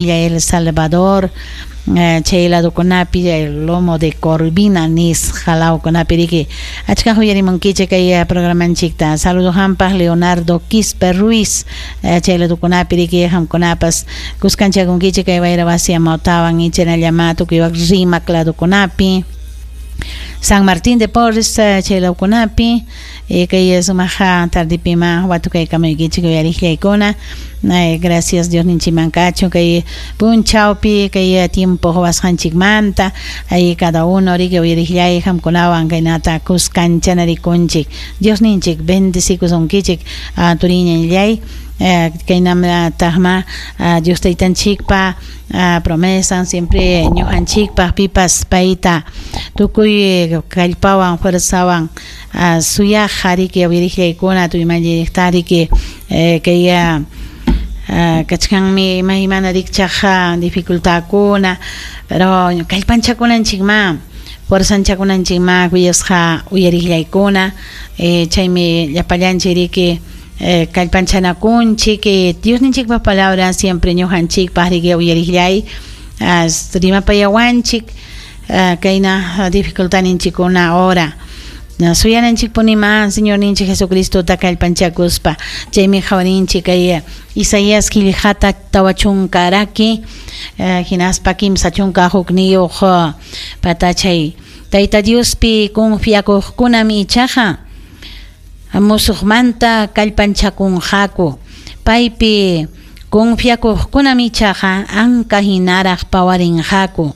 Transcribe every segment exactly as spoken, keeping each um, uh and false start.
El Salvador, chay ladokunapi, el Lomo de Corvina nisqa lawkunapi riki achka uyarimunkichik kay programanchikta. Saludo hampaq Leonardo Quispe Ruiz, chay ladokunapi riki hamkunapas kuskanchakunkichik kay wayra wasi amawtawan ichanallama tukuy wak Rimac ladokunapi, San Martín de Porres chay lawkunapi, kay sumaqa tardipima watukaykamuykichik uyariqllaykuna. Gracias Dios ninchimankachu kay punchawpi kay tiempo huwasqanchikmanta ay cada uno riki uyariqllay hamkunawan kaynata kuskanchanarikunchik. Dios ninchik bendecikusunkichik turiñallay kaynam taqma Dios taytanchikpa promesa siempre ñuqanchikpaq pipas payta tukuy kallpawan fuerzawan suyaqqa riki uyariqllaykuna tuymalliqta riki kay kachkanmi imaymana rikchaq dificultadkuna, pero kallpanchakunanchikma fuerzanchakunanchikma kuyasqa uyariqllaykuna, chaymi llapallanchik riki kallpanchanakunchik. Dios ninchikpa palabra siempre ñuqanchikpaq riki uyariqllay rimapayawanchik kayna dificultadninchikkuna ahora suyananchikpunima Señor ninchik Jesucristota kallpanchakuspa. Chaymi qhawarinchik kay Isaías qillqata tawa chunka raki hinaspa kimsa chunka hukniyuq patachay Tayta Diospi confiakuqkunam ichaqa musuqmanta kallpanchakunqaku, paypi confiakuqkunam ichaqa anka hinaraq pawarinqaku,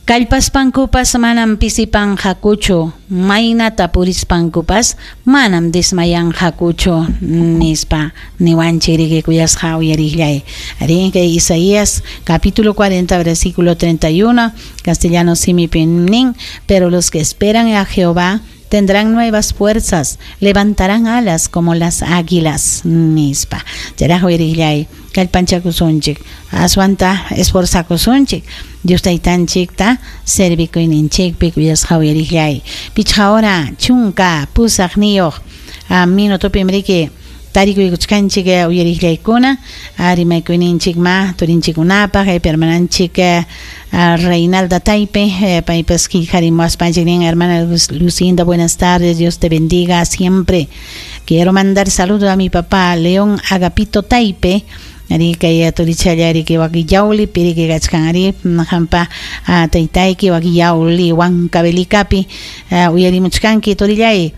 kallpaspankupas manam pisipanqakuchu, maynata purispankupas manam desmayanqakuchu nispa niwanchik riki kuyasqa uyariqllay. Ari kay Isaías capítulo cuarenta versículo treinta y uno castellano simipi nin, pero los que esperan a Jehová tendrán nuevas fuerzas, levantarán alas como las águilas nispa. Chayraq uyariqllay kallpanchakusunchik, aswanta esforzakusunchik Dios taytanchikta servikuyninchikpi kuyasqa uyariqllay. Pichqa hora chunka pusaqniyuq minutopim riki tarikuykuchkanchik uyariqllaykuna rimaykuyninchikma turinchikkunapaq kaypi hermananchik Reinalda Taipe paypas qillqarimuwaspanchik nin: hermana Lucinda, buenas tardes, Dios te bendiga siempre. Quiero mandar saludo a mi papá León Agapito Taipe, ari kay turichalla riki wakillawlipi riki kachkan ari hampa taytayki wakillawli Huancavelicapi uyarimuchkanki turillay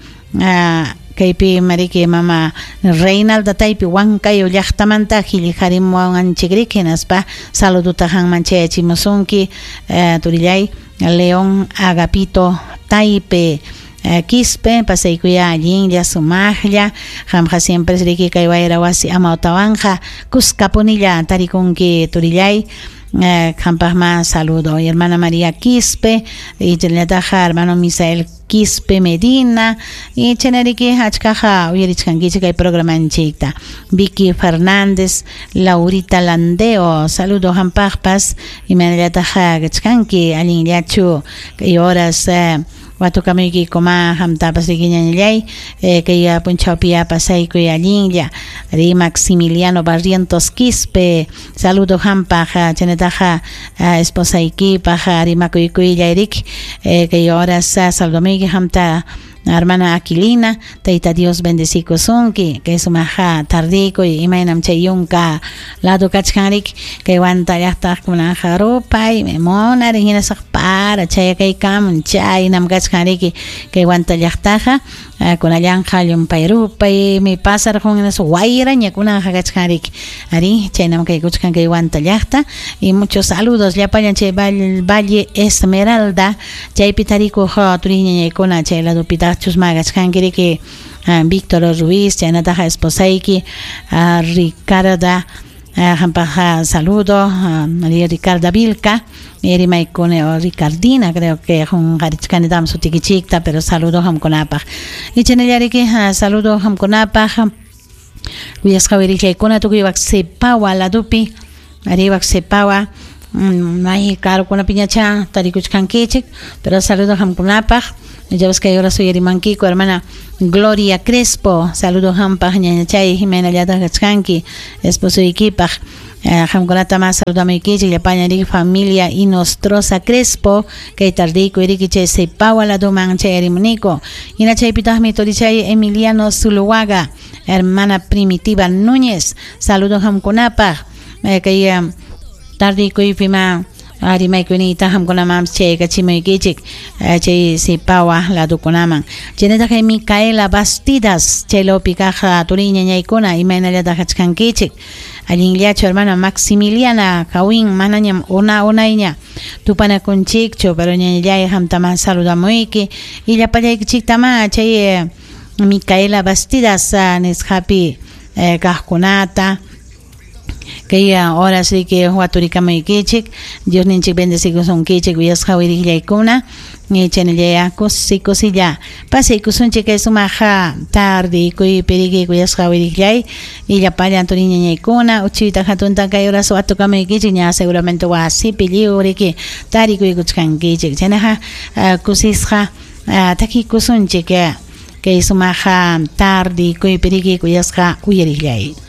kaypi mariki mama Reinalda Taipe Huancayo llaqtamanta qillqarimuwanchik riki hinaspa saluduta qanman chayachimusunki turillay León Agapito Taipe Quispe, pasaykuya allinlla sumaqlla qamqa siempre riki kay wayra wasi amawtawanqa kuskapunilla tarikunki turillay. Qampaqma saludo y hermana María Quispe y chaynallataq hermano Misael Quispe Medina y chaynariki achkaqa uyarichkankichik kay programanchikta. Vicky Fernández, Laurita Landeo, saludo qampaqpas imaynallataq kachkanki allinllachu kay horas watukamuykikuma hamtapas riki ñañallay kay punchawpi pasaykuy allinlla. Ri Maximiliano Barrientos Quispe, saludo hampaq chaynataqa esposaykipaq rimakuykuylla riki kay horas saludomuyki hamta hermana Aquilina, Tayta Dios bendecikusunki kay sumaqa tardikuy imaynam chay yunka lado kachkan riki kay Huanta llaqtaq rupay munari hinasaq para chayakaykamun chaynam kachkan riki kay Huanta llaqtaqa kunallanqa llumpay rupaymi pasarqun hinaspa wayraña kunanqa kachkan riki ari chaynam kaykuchkan kay Huanta llaqta. Y muchos saludos llapallan chay Valle Esmeralda chaypi tarikuq turiñañaykuna chay ladopitaq chusma kachkanki riki Víctor Ruiz chaynataqa esposayki Ricarda hampaq saludo Ricarda Vilca rimaykuni o Ricardina creo que qunqarichkanitam sutikichikta, pero saludo hamkunapaq y chaynallariki saludo hamkunapaq kuyasqa uyariqllaykuna tukuy wak Sepawa ladopi ari wak Sepawa may karukunapiñacha tarikuchkankichik, pero saludo hamkunapaq. Ya ves que ahora soy Erimanquico, hermana Gloria Crespo, saludo hampaq ñañachay Jimena llata kachkanki esposo ikipaq. Qamkunata mas saludamuykichik llapallan riki familia Inostroza Crespo kay tardiykuy riki chay Sepawa laduman chayarimuniku. Hina chaypitaqmi turichay Emiliano Zuluaga, hermana Primitiva Núñez, saludo qamkunapaq kay tardikuypima rimaykunita qamkunaman chaykachimuykichik chay Sepawa ladukunaman. Chaynataq kay Micaela Bastidas chaylapi kaq turiy ñañaykuna imaynallataq kachkankichik. Allinllachu hermana Maximiliana Kawin manañam una unayña tupanakunchikchu pero ñañallay qamtaman saludamuyki y llapallaykichiktama chay Micaela Bastidas nisqapi kaqkunata kay horas riki waturikamaykichik Dios ninchik bendecikusunkichik uyasqa wiriqllaykuna chaynallaya kusi kusilla pasaykusunchik kay sumaq tardikuypi riki kuyasqa wiriqllay y llapallan turi ñañaykuna uchuyta hatunta kay horas watukamaykichik ña seguramente wasipi lliw riki tarikuykuchkankichik chaynaqa kusisqa takikusunchik kay sumaq tardikuypi riki kuyasqa uyariqllay.